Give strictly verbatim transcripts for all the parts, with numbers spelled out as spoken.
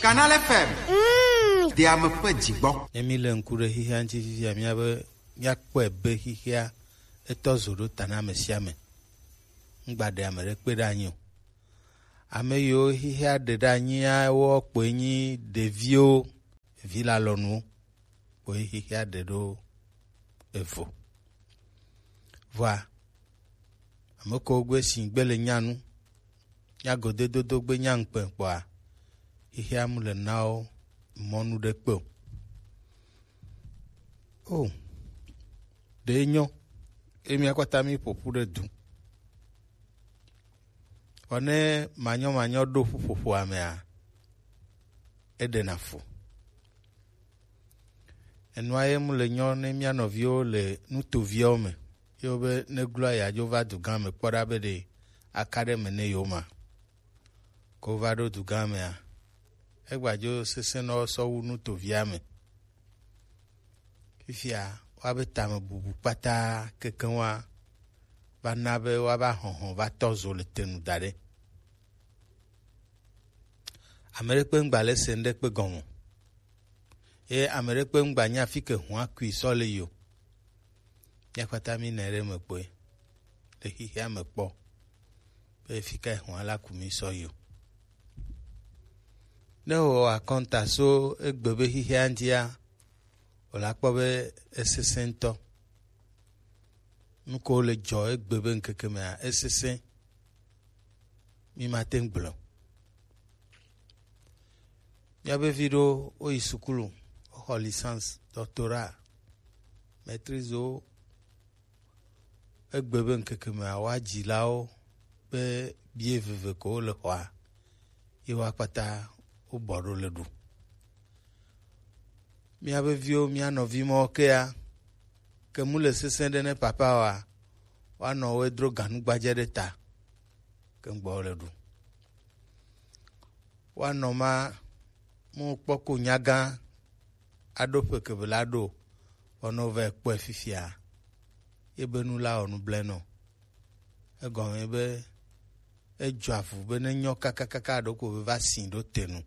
Canal F M. Mm. Ɖe ame ƒe dzi gbɔ. Ne mi le ŋku ɖe xexea ŋuti fifia, mía be míakpɔe be xexea etɔ zo ɖo ta na ame sia ame. Ŋgba ɖe ame ɖe kpe ɖe anyi o. Ame yiwo xexea ɖe ɖe anyia, wo kpoe nyi ɖeviwo, vi lalɔnuwo, kpoe xexea ɖe ɖo evo. Vɔa, ame kewo gbe si gbe le nya nu, nya godedodo gbe nya ŋkpɛ kpɔa, xexea mu le na wo mɔnu ɖe kpe o. O, ɖe nyɔ, emi akpata mi ƒoƒu ɖe du. Vɔ ne manyɔ manyɔ ɖo ƒuƒoƒoa mea, eɖena fu. Enua ye mu le nyɔ ne mía nɔviwo le nutoviawo me. Yewo be ne gloa yeadzo va dugã me kpɔ ɖa be ɖe aka ɖe me ne yewo ma. Ko va ɖo dugã mea, egbadzo sesẽ na wo sɔ wu nutovia me. Fifia, woabe tame bubu kpata kekeŋ wa va na be woava hɔhɔ va tɔ zo le te nu da ɖe. Ame ɖe kpe ŋgba le se ŋɖe kpe gɔme o. Ye ame ɖe kpe ŋgba nya fi ke hua kui sɔ le yi o. Mía kpata mi nɛ ɖe me kpɔe le xexea me kpɔ be fi ka hua la ku mi sɔ yi o. Ne wò akɔnta so egbe be xexea ŋutia, wò la kpɔ be esesẽ ŋutɔ. Nu ko le dzɔ egbe be ŋkeke mea, esesẽ. Mi mate ŋu gblɔ. Míabe vi ɖo woyi sukulu, woxɔ licence, doctorat, maîtrise wo. Egbe be ŋkeke mea, woa dzilawo be bie veve ko wole xɔa, ye woa kpata wobɔ ɖo le ɖu. Míabe viwo, mía nɔvi mawo kea, ke mu le sesẽ ɖe ne papa oa, woanɔ wo dro ganu gbadze ɖe ta, ke ŋgbɔ le ɖu. Woanɔ ma, mu kpɔ ko nyagã aɖo ƒe kebe la ɖo, wɔnɔ vɛ kpɔe fifia, ye be nu la wɔ nu ble nɔ. Egɔme be edzɔ avu be ne nyɔ kakakaka ɖo ko be va si ɖo te nu.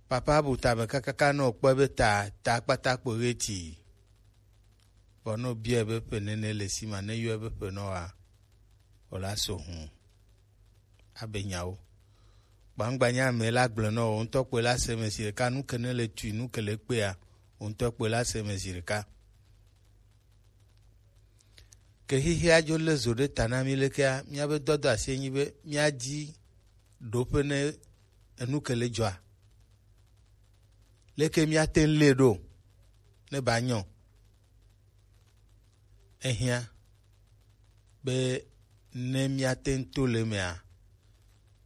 Papa bu tame kakaka nɔ kpɔe be ta, ta kpata kpo ɣeti. Vɔ ne wòbiae be ƒe nene le si ma, ne yɔe be ƒe nɔ wa, wòla so hũ. Abe nyawo. Gbangba nya ame la gblɔ nɔ, wò ŋutɔ kpɔe la se me zi ɖeka, nu ke ne le tui, nu ke le kpea, wò ŋutɔ kpɔe la se me zi ɖeka. Ke xexea dzo lé zo ɖe ta na mí lekea, míabe dɔdɔ asi enyi be míadi ɖoƒe ne enu ke le dzɔa. Leke míate ŋu lée ɖo ne ba nyɔ? Ehiã be ne míate ŋu to le emea,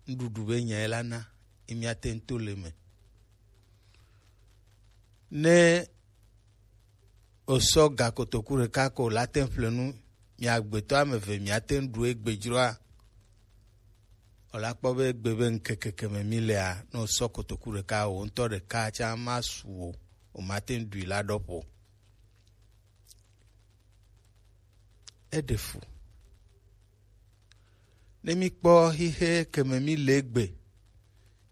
nuɖuɖu be nyae la na ye míate ŋu to le eme. Ne wòsɔ ga kotoku ɖeka ko la te ŋu ƒle nu, mia gbetɔ ame eve miate ŋu ɖu egbe dzroa? Wòla kpɔ be egbe be ŋkeke ke me mí lea, ne wòsɔ kotoku ɖeka, wò ŋutɔ ɖeka tsã masu o, wòmate ŋu ɖui la ɖɔ ƒo. Eɖe fu. Ne míkpɔ xixe ke me míle egbe,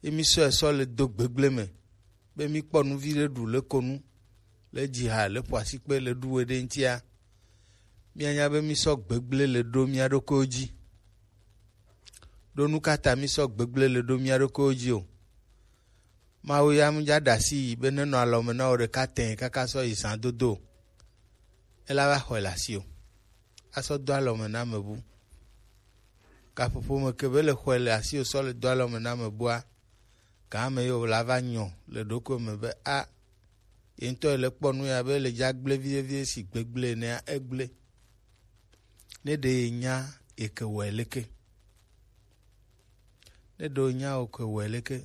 ye mísɔe sɔ le do gbegblẽ me, be míkpɔ nu viɖe ɖu le ko nu, le dzi ha, le ƒo asikpe, le ɖu we ɖe ŋutia, míanya be mísɔ gbegblẽ le ɖo mía ɖokuiwo dzi. Ɖo nu ka ta mísɔ gbegblẽ le ɖo mía ɖokuiwo dzi o? Mawu ya mu dza ɖe asi yi be nenɔ alɔme na wò ɖeka tẽ kaka sɔ yi zã dodo o. Ela va xɔe le asi o. Asɔ do alɔme na ame bu. Gaƒoƒo me ke be le xɔe le asi o sɔ le do alɔme na ame bua, gã ame yi wòla va nyɔ le ɖokui me be a, ye ŋutɔ yi le kpɔ nu ya be le dza gblẽ viɖe viɖe si gbegblẽ enea, egblẽ. Ne ɖe ye nya ye ke wɔe leke? Ne ɖe wo nya wo ke wɔe leke?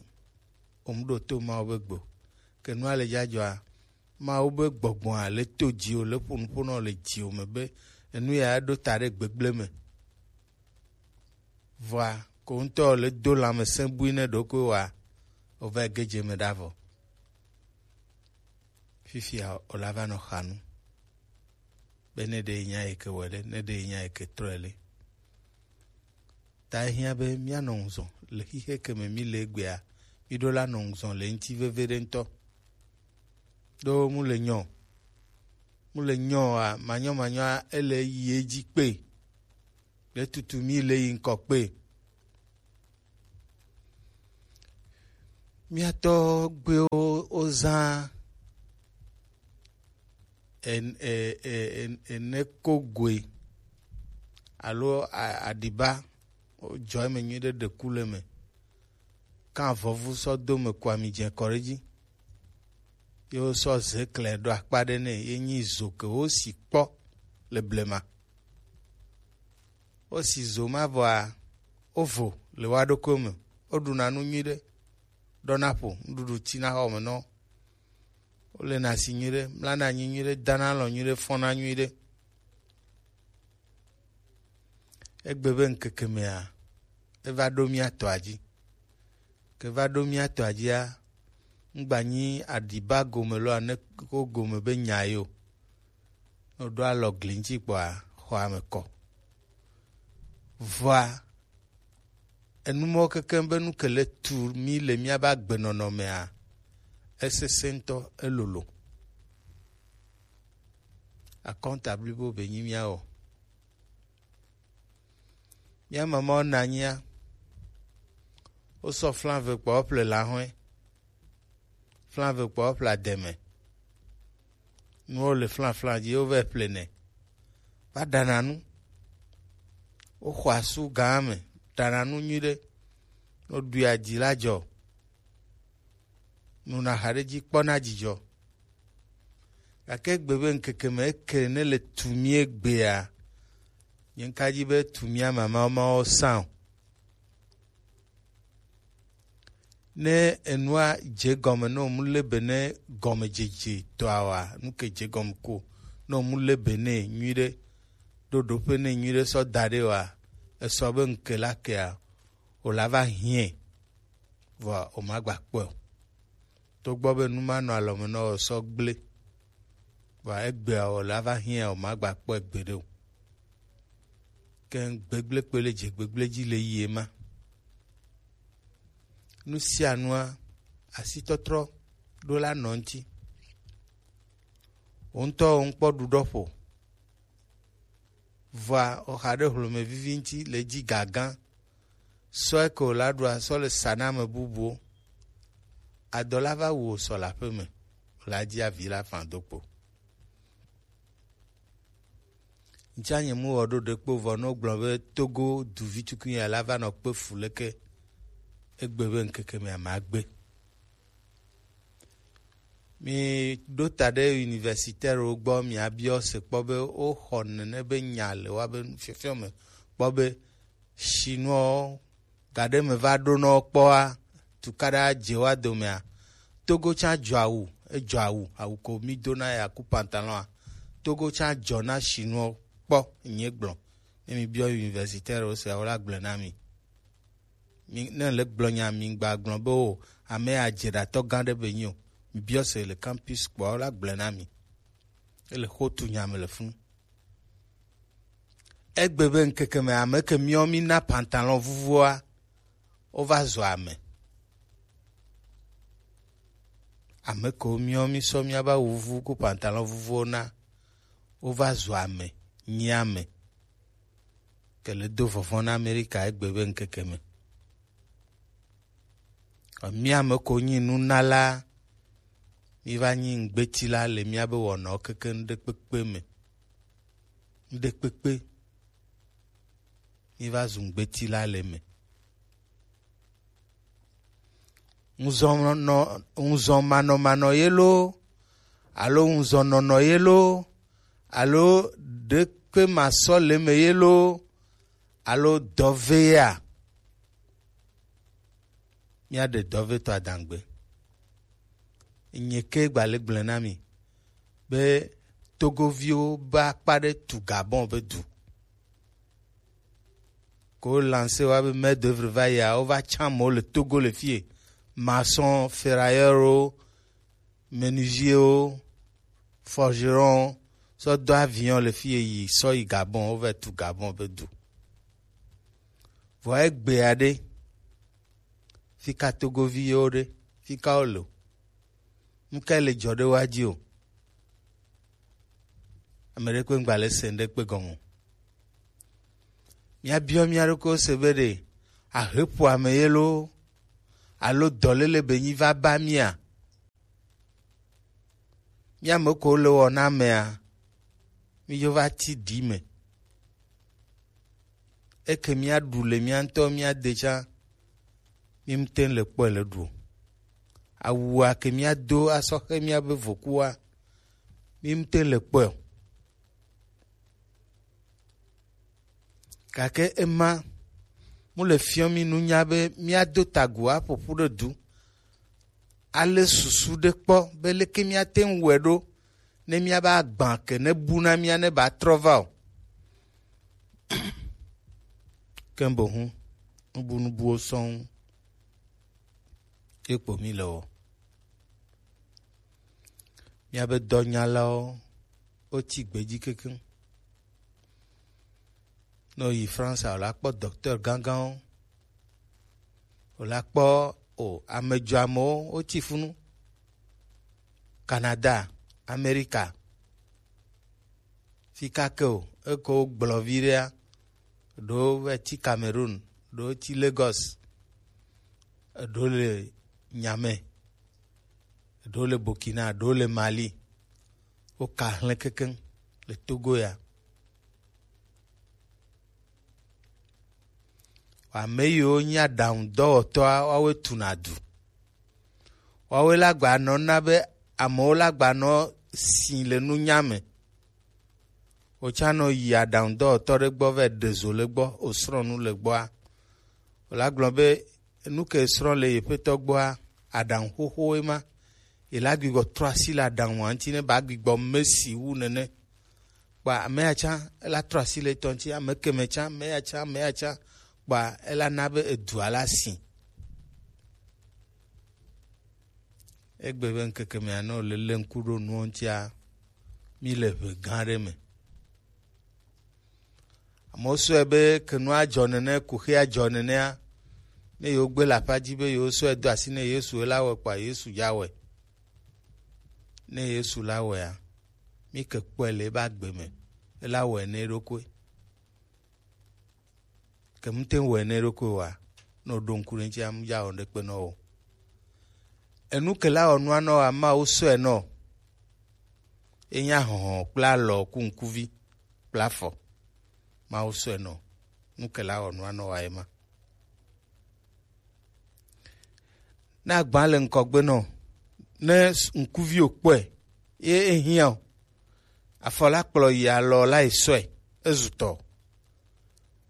Wo mu ɖo to Mawu be gbe o. Ke nua le dza dzɔa, Mawu be gbɔgbɔa le to dziwò, le ƒo nuƒo na wò le dziwò me be enu ya ɖo ta ɖe gbegblẽ me. Vɔa, ko ŋutɔ le do lãmesẽ bui ne ɖokui wa, wova ge dze me ɖa vɔ. Fifia wòla va nɔ xa nu. Be ne ɖe nya yi ke wɔe ɖe, ne ɖe nya yi ke trɔe le. Ta ehiã be míanɔ ŋuzɔ le xixe ke me mí le egbea, Mi ɖo la nɔ ŋzɔn le ŋti veve ɖe ŋtɔ. Ɖo mu le nyɔ. Mu le nyɔ a, manyɔ manyɔ a, ele yi edzi kpe. Le tutu mi le yi ŋkɔ kpe. Mía tɔgbuiwo wozã en-, e-, e-, en-, enekogoe alo a-, aɖiba, wojɔ eme nyuiɖe, ɖe ku le eme, kan avɔvu sɔ do me, ku ami dze kɔ ɖe edzi, ye wosɔ ze klɛ ɖo akpa ɖe nɛ, ye nyi zo ke wosi kpɔ le blema. Wosi zo ma vɔa, wovo le woa ɖokuiwo me. Woɖuna nu nyuiɖe, ɖɔna ƒo, nuɖuɖu tina xɔme nɔ. Wolena asi nyuiɖe, mlana anyi nyuiɖe, dana alɔ nyuiɖe, fɔna nyuiɖe. Egbe be ŋkeke mea, eva ɖo mía tɔa dzi. Ke va ɖo mía tɔa dzia, ŋgba nyi aɖiba gome lɔ ane ko gome be nya ye o. Ne woɖo alɔ gli ŋuti kpɔa, xɔa me kɔ. Vɔa, enu mɔwo kekeŋ be nu ke le tu mí le míabe agbenɔnɔ mea, esesẽ ŋutɔ, elolo. Akɔnta blibo be nyi míawɔ. Mía mamawo na anyia, wosɔ flan ve kpɔ woƒle lahɔe. Flan ve kpɔ woƒle ademe. Nuwo le flan flan dzi, wovɛ ƒle nɛ. Va ɖana nu. Woxɔ asu gã me, ɖana nu nyuiɖe. Woɖui adzi la dzɔ. Nuna haɖe dzi kpɔna dzidzɔ. Gake egbe be ŋkeke me eke ne le tu mí egbea, nye ŋka dzi be tu mía mamawo mawo sã o. Ne enua dze gɔme, ne womu le be ne gɔmedzedze tɔa wa, nu ke dze gɔme ko, ne womu le be ne nyuiɖe, ɖo ɖoƒe ne nyuiɖe sɔ da ɖe wa, esɔ be ŋke la kea, wòla va hiɛ, vɔa wòmagba kpɔe o. Togbɔ be nu ma nɔ alɔme nɔ wò sɔ gblẽ, vɔa egbea wòla va hiã wò magba kpɔe gbeɖe o. Ke gbegblẽ kpe le dze gbegblẽ dzi le yie ma. Nu sia nua, asitɔtrɔ ɖo la nɔ ŋuti. Wò ŋutɔ wò ŋkpɔ ɖuɖɔ ƒo. Vɔa, oxa ɖe hlome vivi ŋuti le dzi gagã. Sɔe ke wòla ɖua sɔ le sa na ame bubuwo. Adɔ la va wu wò sɔ le aƒe me, wòla dzi avi la fã do kpo. Ŋtsia nye mu wɔ ɖo ɖekpo vɔ ne wogblɔ be Togo duvi tukui ya la va nɔ kpe fu leke egbe be ŋkeke mea magbe. Mi ɖo ta ɖe universitaire wo gbɔ, miabiɔ se kpɔ be woxɔ nene be nya le woabe fiɔfiɔ me kpɔ be Chinois gaɖe me va ɖo nɔ kpɔa, tukaɖa dze wa domea. Togo tsã dzɔ awu, edzɔ awu, awu ko mi dona ya ku pantalon a. Togo tsã dzɔ na Chinois kpɔ, nye gblɔ. Ne mi biɔ universitaire wo se, wo la gblɔ na mi. Mi, ne le gblɔ nya, mi gba gblɔ be o, ame ya dze ɖatɔ gã ɖe be nyi o. Mi biɔ se le campus kpɔ, wo la gblɔ na mi. Ele xo tu nya me le funu. Egbe be ŋkeke me ame ke miɔ mi na pantalon vuvuoa, wova zɔ ame. Ame kewo miɔ mi sɔ miaba wuvu ku pantalon vuvuwo na, wova zɔ ame, nyi ame. Ke le do vɔvɔ̃ na Amerika egbe be ŋkeke me. Mía ame ko nyi nunala, mi va nyi ŋgbetila le míabe wɔnawo keke ŋɖekpekpe me. Ŋɖekpekpe. Mi va zu ŋgbetila le me. Ŋuzɔnɔ, ŋuzɔmanɔmanɔ ye loo, alo ŋuzɔnɔnɔ ye loo, alo ɖekpe masɔ le me ye loo, alo dɔvea. Míaɖe dɔvetɔ adangbe. Nye ke gba le gblẽ na mi be Togoviwo be akpa ɖe tu Gabon be du. Ko lancer wa be main d'œuvre va yia, wova tsã amewo le Togo le fie. Maçon, ferrailleur wo, menuisier wo, forgeron, sɔ do avion le fie yi, sɔ yi Gabon, wova tu Gabon be du. Vɔ egbea ɖe, Fika Togovi yewo ɖe? Fika wo le o? Nuka le jɔ ɖe wa ji o? Ame ɖe kpe ŋgba le se ŋɖe kpe gɔme o. Míabiɔ mía ɖokuiwo se be ɖe ahe ƒo ame ye loo alo dɔléle be nyi va ba mía? Mía me ko le wɔ na amea, mí dzo va ti ɖi me. Eke mía ɖu le mía ŋutɔ mía de tsã, mí mte le kpɔe le ɖu o. Awua ke mía do asɔ xe mía be vokua, mí mte le kpɔe o. Gake ema mu le fiɔ mí nunya be mía do tagu aƒoƒu ɖe du. Ale susu ɖe kpɔ be leke mía te ŋu wɛ ɖo ne mía ba gbã ke ne bu na mía ne ba trɔ va o. Ke boŋ nubunubuwo sɔŋ ye kpo mí le wɔ. Míabe dɔnyalawo, wotsi gbe dzi kekeŋ. Ne wòyi France, wòla kpɔ docteur gãgãwo, wòla kpɔ o amedzɔamewo, wotsi funu. Canada, Amerika, fika ke o, eko wogblɔ vi ɖea, ɖewo va tsi Cameroun, ɖewo tsi Lagos, eɖewo le Niamey, eɖewo le Burkina, eɖewo le Mali. Woka hlẽ kekeŋ le Togo ya. Ame yiwo nye aɖaŋudɔwɔtɔa, woawoe tuna du. Woawoe la gba nɔ na be amewo la gba nɔ si le nunya me. Wòtsã nɔ yi aɖaŋudɔwɔtɔ ɖe gbɔ vɛ ɖe zo le gbɔ, wòsrɔ̃ nu le gbɔa, wòla gblɔ be nu ke srɔ̃ le yeƒetɔ gbɔa, aɖaŋu xoxowoe ma. Yela gbigbɔ trɔ asi le aɖaŋua ŋuti ne ba gbigbɔ mesi wu nene. Kpa ame ya tsã ela trɔ asi le etɔ ŋuti, ame keme tsã, ame ya tsã, ame ya tsã. Kpa ela na be edua la si. Egbe be ŋkeke mea, ne wòle lé ŋku ɖo nuwo ŋutia, mí le ʋe gã aɖe me. Amewo sɔe be ke nua dzɔ nene, kuxia dzɔ nenea, ne yewo gbe le aƒa dzi be yewo sɔe do asi ne Yesu, ela wɔe kpa Yesu ya wɔe. Ne Yesu la wɔea, mí ke kpɔe le ebe agbe me, ela wɔe ne eɖokui. Ke mute ŋu wɔe ne eɖokui oa, ne wòɖo ŋku ɖe eŋuti, ame ya wɔ ɖekpe nɔ o. Enu ke la wɔ nua nɔ oa, Mawu sɔe nɔ. Enya hɔhɔ kple alɔ ku ŋkuvi kple afɔ. Mawu sɔe nɔ. Nu ke la wɔ nua nɔ oa, ema. Ne agba le ŋkɔgbe nɔ, ne ŋkuvi wòkpɔe, ye ehiã o. Afɔ la kplɔ yi alɔ la yi sɔe, ezu tɔ.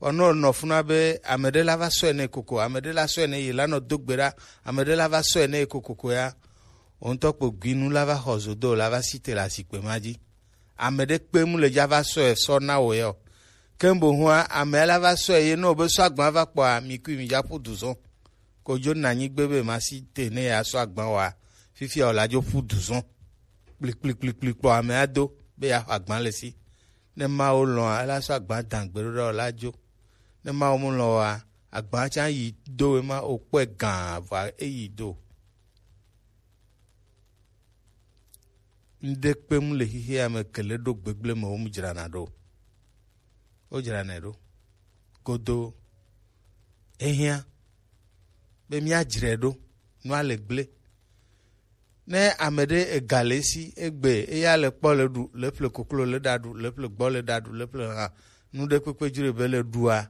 Vɔ ne wònɔ funa be ame ɖe la va sɔe nɛ kokoko, ame ɖe la sɔe nɛ yi la nɔ do gbe ɖa, ame ɖe la va sɔe nɛ yi kokoko ya, wò ŋutɔ kpo gui nu la va xɔ zodo, la va si te le azikpe ma dzi. Ame ɖe kpe mu le dza va sɔe sɔ na wò ya o. Ke boŋua, ame la va sɔe ye ne wòbe sɔ agba va kpɔa, mi kui mi dza ƒu du zɔ. Kodzo na nyigbe be ma si te ne ya sɔ agba wa, fifia wòla dzo ƒu du zɔ. Kplikplikplikpli kpɔ ame ado be ya xɔ agba le si. Ne Mawu lɔ̃a, ela sɔ agba da gbeɖoɖa wòla dzo. Ne Mawu mu lɔ̃ oa, agba tsã yi do ema wòkpɔe gã vɔa eyi do. Ŋɖe kpem le xexea me ke le ɖo gbegblẽ me wo mu dzrana ɖo. Wo dzranae ɖo. Godo. Ehiã be míadzrae ɖo. Nua le gblẽ. Ne ame ɖe ega le esi egbe eya le kpɔ le ɖu, le ƒle koklo le ɖa ɖu, le ƒle gbɔ le ɖa ɖu, le ƒle ha, nu ɖe kpekpe dzro be le ɖua,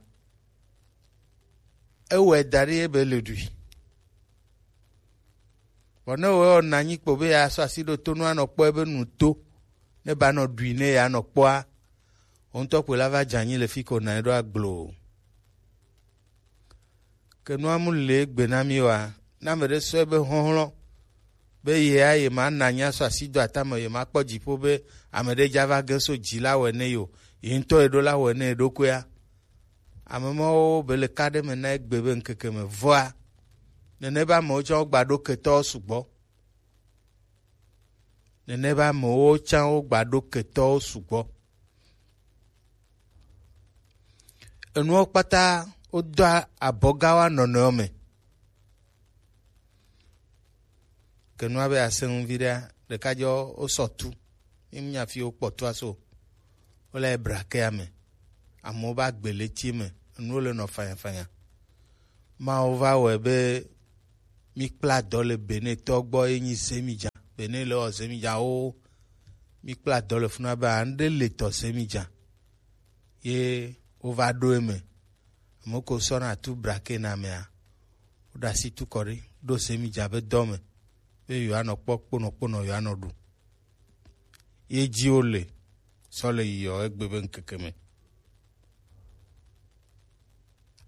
ewɔe da ɖi ebe le ɖui. Vɔ ne wòwɔ nɔ anyi kpo be yeasɔ asi ɖo to nu anɔ kpɔ ebe nu to, ne ba nɔ ɖui ne yeanɔ kpɔa, wò ŋutɔ kpoe la va dze anyi le fi ko nɔ anyi ɖo agbloo. Ke nua mu le egbe na mí oa, ne ame ɖe sɔ ebe xɔxlɔ̃ be yea ye ma nɔ anyi asɔ asi do atame, ye ma kpɔ dziƒo be ame ɖe dza va ge so dzi la wɔe ne yo, ye ŋutɔ ye ɖo la wɔe ne yeɖokuia. Ame mawo be le ka ɖe me na egbe be ŋkeke me vɔa, nene be amewo tsã wogba ɖo ketɔwo sugbɔ. Nene be amewo tsã wogba ɖo ketɔwo sugbɔ. Enuwo kpata wodoa abɔgawo anɔnɔewo me. Ke nua be asẽ ŋu viɖea, ɖeka jɔ wosɔ tu. Mi mu nya fi wokpɔ tua so. Wole braquet ame. Amewo ba gbe le tie me. Enuwo le nɔ fanyafanya. Mawu va wɔe be mi kpla dɔ le Benetɔ gbɔ ye nyi Zemidza. Bene le wɔ Zemidza wo. Mi kpla dɔ le funa be aŋɖe le tɔ Zemidza. Ye wova ɖo eme. Ame ko sɔna tu braquet na mea, woɖe asi tu kɔ ɖi, ɖo Zemidza be dɔ me, be yewoanɔ kpɔ kponɔkponɔ yewoanɔ ɖu. Ye dzi wole sɔ le yiyɔ egbe be ŋkeke me.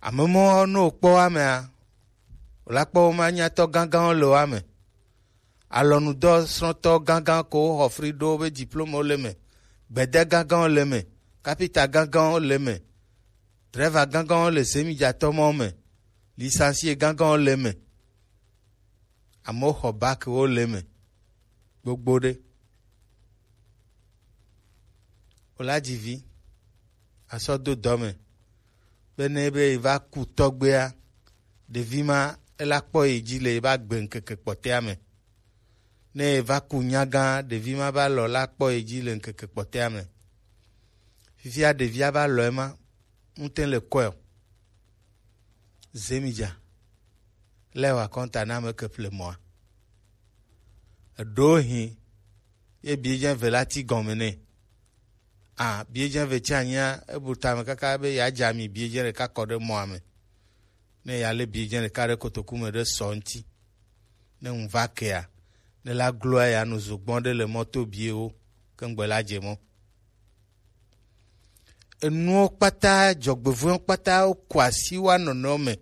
Ame mɔ ne wokpɔ wa mea, wòla kpɔ wo ma nyatɔ gãgãwo le wa me. Alɔnudɔ srɔ̃tɔ gãgã ko woxɔ fri ɖo wobe diplômewo le me. Gbede gãgãwo le me. Kapita gãgãwo le me. Drɛva gãgãwo le Zemidzatɔ mɔ me. Licencié gãgãwo le me. Amewo xɔ bac wo le me. Gbogbo ɖe. Wola dzi vi. Asɔ do dɔ me. Be ne be yi va ku tɔgbea, ɖevi ma ela kpɔ yi dzi le yi va gbe ŋkeke kpɔtɛa me. Ne yi va ku nyagã, ɖevi ma va lɔ la kpɔ yi dzi le ŋkeke kpɔtɛa me. Fifia ɖevia va lɔ ema, ŋute le kɔe o. Zemidza. Lé wa kɔnta na ame ke ƒle mɔa. Eɖo hin ye biedzɛ ve la ti gɔme nɛ. A biedzɛ ve tsi anyia ebu tame kaka be ya dza mi biedzɛ ɖeka kɔ ɖe mɔa me. Ne ya lé biedzɛ ɖeka ɖe kotoku me ɖe sɔ ŋti. Ne ŋu va kea, ne la gloa ya nu zogbɔn ɖe le mɔto biewo ke ŋgbe la dze mɔ. Enuwo kpata, dzɔgbevɔ̃ewo kpata, woku asi wa nɔnɔewo me.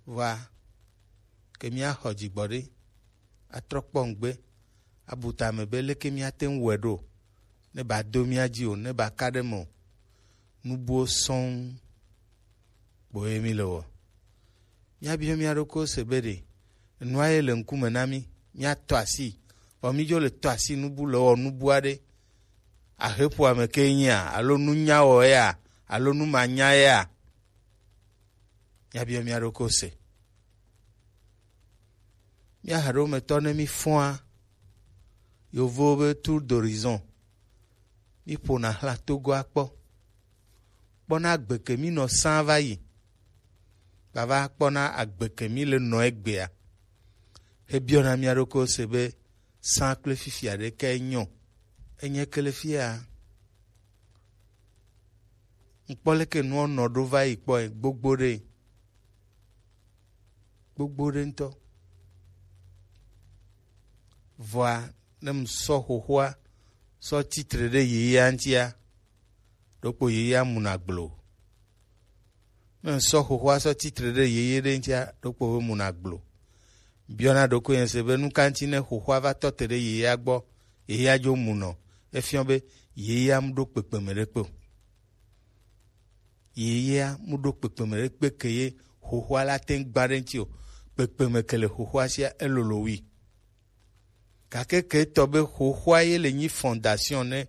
Vɔa, ke míaxɔ dzigbɔɖi, atrɔ kpɔ ŋgbe, abu tame be leke míate ŋu wɔe ɖo, ne ba do mía dzi o, ne ba ka ɖe me o. Nu buwo sɔŋ kpoe mí le wɔ. Míabiɔ mía ɖokuiwo se be ɖe enua ye le ŋkume na mí, míatɔ asi, vɔ mídzo le tɔ asi nubu le wɔ nubu aɖe. Aheƒoame ke nyia, alo nunyawɔ ya, alo numanya ya? Míabiɔ mía ɖokuiwo se. Mía haɖometɔ ne mí fɔa, yovowo be tour d'horizon, mí ƒona xla Togoa kpɔ. Kpɔna agbe ke mí nɔ sã va yi. Vava kpɔna agbe ke mí le nɔ egbea. Hebiɔna mía ɖokuiwo se be sã kple fifia ɖe kae nyɔ? Enye ke le fia. Ŋkpɔ leke nua nɔ ɖo va yi kpɔe gbogbo ɖe. Gbogbo ɖe ŋutɔ. Vɔa, ne ŋsɔ xoxoa sɔ titre ɖe yeyea ŋutia, ɖokpo yeyea muna gblo. Ne ŋsɔ xoxoa sɔ titre ɖe yeye ɖe ŋutia, ɖokpo be muna gblo. Biɔna ɖokuinye se be nu ka ŋuti ne xoxoa va tɔ te ɖe yeyea gbɔ, yeyea dzo munɔ. Efiɔ be yeyea mu ɖo kpekpeme ɖe kpe o. Yeyea mu ɖo kpekpeme ɖe kpe ke ye xoxoa la te ŋu gba ɖe ŋuti o. Kpekpeme ke le xoxoa sia elolo wui. Gake ke etɔ be xoxoa ye le nyi fondation ne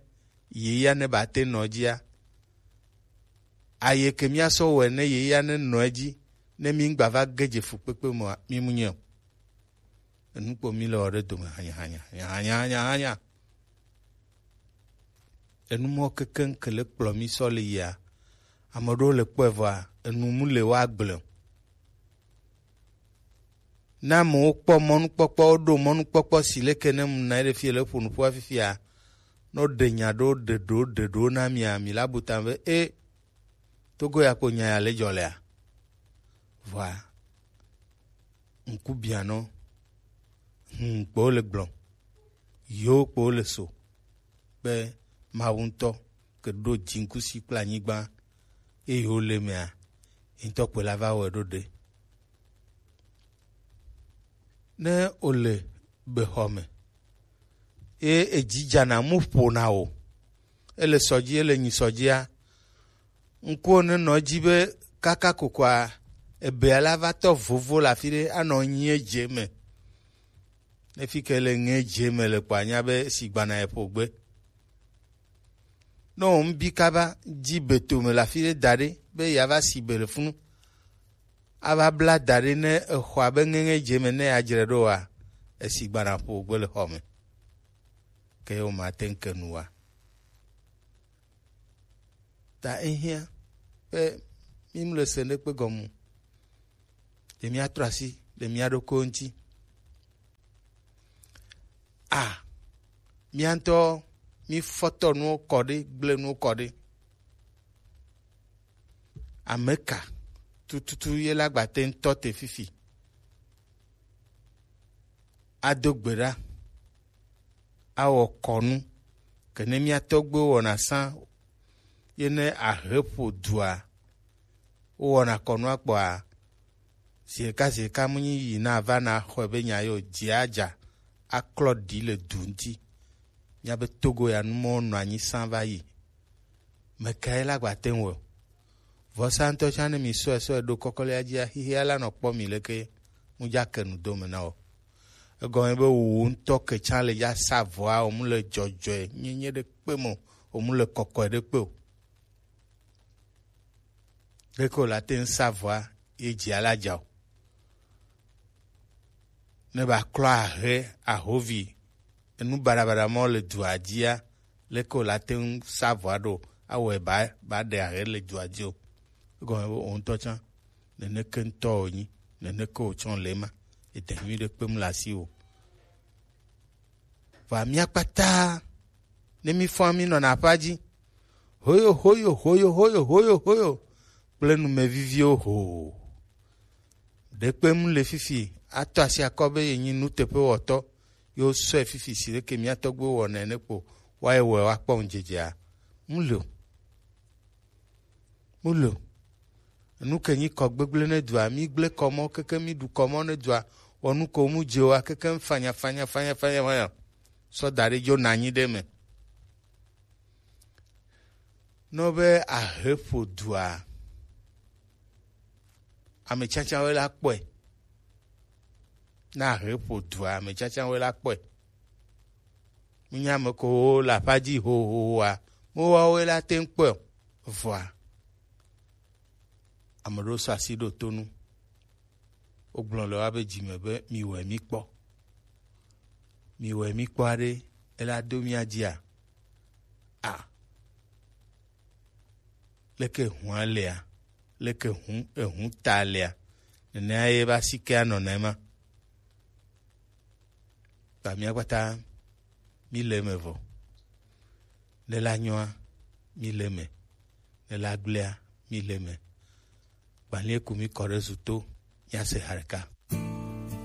yeyea ne ba te nɔ edzia. Aye ke míasɔ wɔe ne yeyea ne nɔ edzi ne mí ŋgba va ge dze fukpekpe me oa, mí mu nyɛ o. Enu kpo mí le wɔ ɖe dome hanya, hanya, hanya, hanya, hanya. Enu mɔ kekeŋ ke le kplɔ mí sɔ le yia. Ame ɖewo le kpɔe vɔa, enu mu le wa gblẽ o. Ne amewo kpɔ mɔnukpɔkpɔ, woɖo mɔnukpɔkpɔ si leke ne mu na ɖe fie le ƒo nuƒoa fifia, ne woɖe nya ɖewo, ɖe ɖewo, ɖe ɖewo na mia, mi la bu ta be, e, Togo ya kpo nya ya le dzɔ lea? Vɔa, ŋku bianɔ, hum kpo le gblɔ, yo kpo le so, be Mawu ŋutɔ ke ɖo dziŋkusi kple anyigba, eye wole mea, ye ŋutɔ kpoe la va wɔe ɖo ɖe. Ne wole bexɔ me, ye edzi dzana mu ƒona o, ele sɔ dzi, ele nyi sɔ dzia, ŋkuwo ne nɔ edzi be kaka kokoa ebea la va tɔ vovo le afi ɖe anɔ nyi edze me. Ne fi ke le nyi edze me le kpoa, anya be sigbana eƒo gbe. Ne wo ŋbi kaba dzi be tome le afi ɖe da ɖe be yeava si be le funu. ava bla da ɖi ne exɔa be ŋeŋe dze me ne adzre ɖo wa, esi gbana ƒo gbe le xɔ me. Ke wo ma te ŋu ke nu wa. Ta ehiã be mi mu le se ɖekpe gɔme o. Ɖe mia trɔ asi le mia ɖokui ŋuti. A, mia ŋutɔ mi fɔtɔ nuwo kɔ ɖe, gble nuwo kɔ ɖe. Ame ka tututu ye la gba te ŋutɔ te fifi? Ado gbe ɖa, awɔ kɔnu, ke ne mia tɔgbuiwo wɔna sã ye ne ahe ƒo dua, wowɔna kɔnua kpɔa, ziɖeka ziɖeka mu nyi yi na va na xɔe be nya yo dzia dza aklɔ ɖi le du ŋuti. Mia be Togo ya nu mɔ nɔ anyi sã va yi. Mekae la gba te ŋu wɔ? Vɔsa ŋutɔ tsã ne mi sɔe sɔe ɖo kɔkɔlea dzia, xixia la nɔ kpɔ mi leke mu dza ke nu do me na wɔ. Egɔme be wò ŋutɔ ke tsã le dza sa vɔa, wò mu le dzɔdzɔe nyenye ɖe kpe me o, wò mu le kɔkɔe ɖe kpe o. Leke wò la te ŋu sa vɔa ye dzia la dza o? Ne ba klɔ ahe ahovi enu baɖabaɖa mɔ le dua dzia, leke wò la te ŋu sa vɔa ɖo awɔe ba ba ɖe ahe le dua dzi o? Egɔme be wò ŋutɔ tsã neneke ŋutɔ wònyi, neneke wòtsɔ le ema. Ede nyui ɖe kpem le asi o. Vɔa mía kpata ne mi fɔa mi nɔna aƒea dzi, hoyo hoyo hoyo hoyo hoyo hoyo kple numeviviwo ho. Ɖekpe mu le fifi ato asi akɔ be yenyi nuteƒewɔtɔ, yewo sɔe fifi si ɖeke mía tɔgbuiwo wɔnɛ ne kpo woaye wɔe woakpɔ ŋudzedzea? Mu le o. Mu le o. Enu ke nyi kɔ gbegblẽ ne dua, mi gblẽ kɔ mɔ keke mi ɖu kɔ mɔ ne dua, wɔ nu ko mu dze wa keke fanya fanya fanya fanya fanya. Sɔ da ɖe dzo na anyi ɖe me. Nɔ be ahe ƒo dua, ame tsatsawoe la kpɔe. Na ahe ƒo dua, ame tsatsawoe la kpɔe. Mínya ame kewo le aƒea dzi hohohoa, mewoawoe la te ŋu kpɔe o. Vɔa, ame ɖewo sɔ asi ɖo to nu. Wogblɔ le woabe dzi me be, miwɔe mi kpɔ. Miwɔe mi kpɔ aɖe, ela do mía dzia? A, leke hũa lea? Leke hũ, ehũ ta lea? Nenea ye be asi ke anɔ na ema. Ta mía kpata mi le eme vɔ. Ne la nyɔa, mi le eme. Ne la gblea, mi le eme. Gbalẽ ku mi kɔ ɖe zu to, mía se ha ɖeka.